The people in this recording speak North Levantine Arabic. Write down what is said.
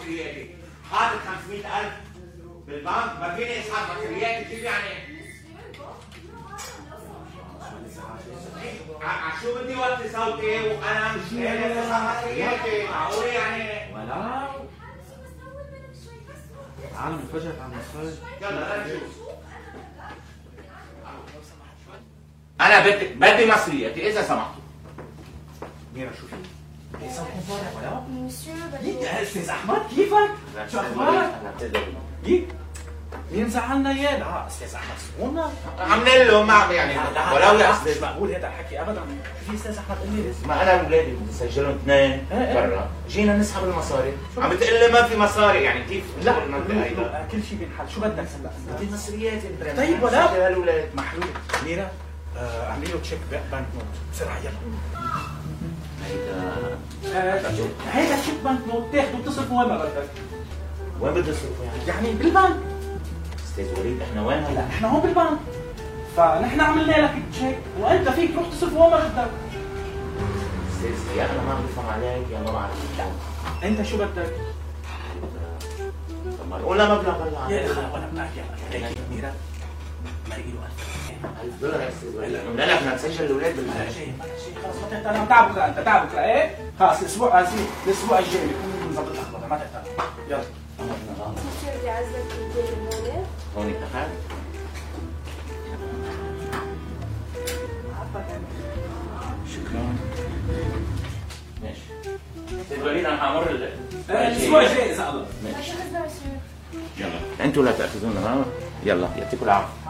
مصرياتي، حاطط 500,000 بالبنك، ما فيني اسحب مصرياتي، كيف يعني؟ شو بدي وطي صوتي وانا مش قادر اسحب مصرياتي، معقول يعني؟ ولا العالم انفجرت عن المصاري. يلا نشوف. انا بدي مصرياتي اذا سمحتوا. ميرا شو في؟ ايه صوتكم طالع ولا؟ مسيو يك يا استاذ احمد كيفك؟ شو اخبارك؟ يك مين زعلنا اياه؟ لا استاذ احمد سمونا عاملين له ما يعني ولو يا استاذ مقبول هذا الحكي ابدا. في استاذ احمد قال لي ما انا واولادي بدي اسجلهم اثنين برا، جينا نسحب المصاري، عم بتقول لي ما في مصاري، يعني كيف؟ لا كل شيء بينحل، شو بدك هلا؟ بدي مصرياتي طيب ولا سجل هالولاد محلول. ميرا اعملي له تشيك بنك نوت بسرعه يلا. هيدا تشيك بنك نوت تاخده بتصرفه وين ما بدك. وين بدي اصرفه يعني بالبنك. استاذ وليد احنا وين هلا؟ لا احنا هون بالبنك، فنحن عملنا لك تشيك وانت فيك تروح تصرفه وين ما بدك. استاذ يا انا ما عم بفهم عليك يا ما بعرف. لا انت شو بدك؟ طب ما قلنا مبلغ هلا يا اخي ولا بدك يلا هيك ميرا مرقي له $1000 يا استاذ وليد. لا لا بدنا نسجل الاولاد بلا شيء خلص ما تهتم. انا تعب بكره، انت تعب بكره ايه؟ خلص الاسبوع الجاي بكون مظبط الاخبار ما تهتم. يلا مسيو بدي اعزك بالدنيا هون اتفقنا؟ شكرا. ماشي. استاذ وليد انا حامر الاسبوع الجاي اذا الله. ماشي. يلا انتوا لا تاخذونا ها؟ يلا يعطيكم العافيه.